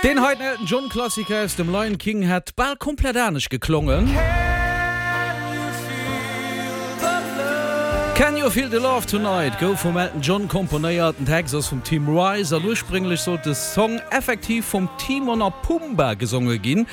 Deen heiten Elton John Klassiker aus dem Lion King hätt bal komplett anescht geklongen. Can You Feel the Love Tonight gouf vum Elton John komponéiert, den Text ass vum Tim Rice an ursprénglech sollt de Song effektiv vum Timon a Pumba gesonge ginn.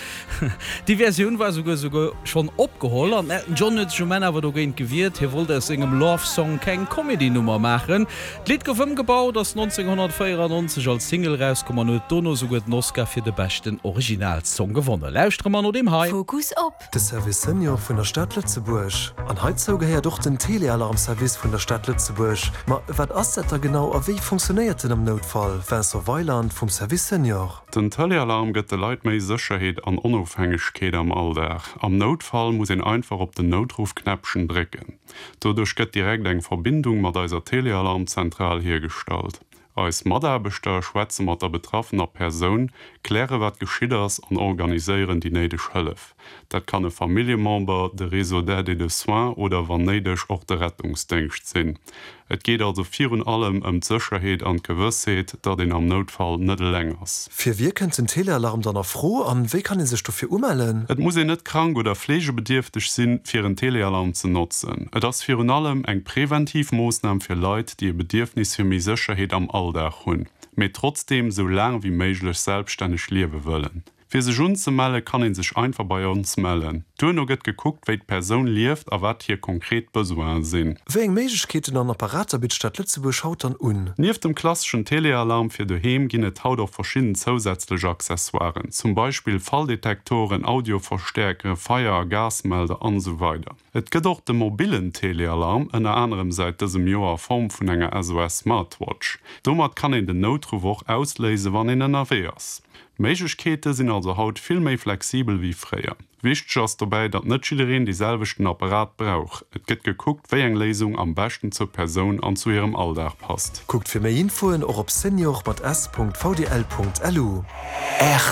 Déi Versioun war souguer souguer schonn opgeholl an den Elton John huet sech um Enn awer dogéint gewiert. Hie wollt aus sengem Love Song keng Comedy-Nummer maachen. D'Lidd gouf ëmgebaut, ass 1994 als Single erauskomm an huet dono souguer den Oscar fir de beschten Originalsong gewonnen. Lauschtere mer no deem hei. Fokus op. De Service Senior vun der Stad Lëtzebuerg. An heizou gehéiert och den Telealarm-Service vun der Stad Lëtzebuerg. Ma wat ass dat da genau a wéi funktionéiert en am Noutfall? Vincent Weiland vum Service Senior. Den Telealarm gëtt de Leit méi Sécherheet an Onofhängegkeet am Alldag. Am Noutfall muss een einfach op den Noutruffknäppchen drécken. Doduerch gëtt direkt eng Verbindung mat eiser Telealarmzentral hiergestallt. Eis Mataarbechter schwätze mat der betraffener Persoun, kläre wat geschitt ass an organiséieren déi néideg Hëllef. Dat kann e Familljemember, de Réseau d'aide et de soins oder wann néideg och de Rettungsdéngscht sinn. Et geet also virun allem ëm d'Sécherheet an d'Gewëssheet, datt een am Noutfall net eleng ass. Fir wie kënnt den Telealarm dann a Fro an wéi kann ee sech dofir umellen? Et muss een net krank oder fleegebedierfteg sinn, fir en Telealarm ze notzen. Et ass virun allem eng preventiv Moossnam fir Leit, déi e Bedierfnis fir méi Sécherheet am Alldag hunn, mee trotzdeem sou laang wéi méiglech selbststänneg liewe wëllen. Fir sech unzemelle kann een sech einfach bei ons mellen. Duerno gëtt gekuckt wéi d'Persoun lieft a wat hir konkret Besoinen sinn. Wéi eng Méiglechkeeten an Apparater bitt d'Stad Lëtzebuerg haut dann un? Nieft dem klasseschen Telealarm fir doheem ginn et haut och verschidden zousätzlech Accessoiren, zum Beispill Falldetektoren, Audioverstäerkeren, Feier a Gasmelder an esou weider. Et gëtt och de mobillen Telealarm, ënner anerem säit dësem Joer a Form vun enger SOS Smartwatch. Domat kann een den Noutruff och ausléisen, wann een ënnerwee ass. D'Méiglechkeete sinn also haut vill méi flexibel wéi fréier. Wichteg ass dobäi, datt net jiddereen dee selwechten Apparat brauch. Et gëtt gekuckt, wéi eng Léisung am beschten zur Persoun an zu hirem Alldag passt. Kuckt fir méi Infoen och op senior mat s.vdl.lu.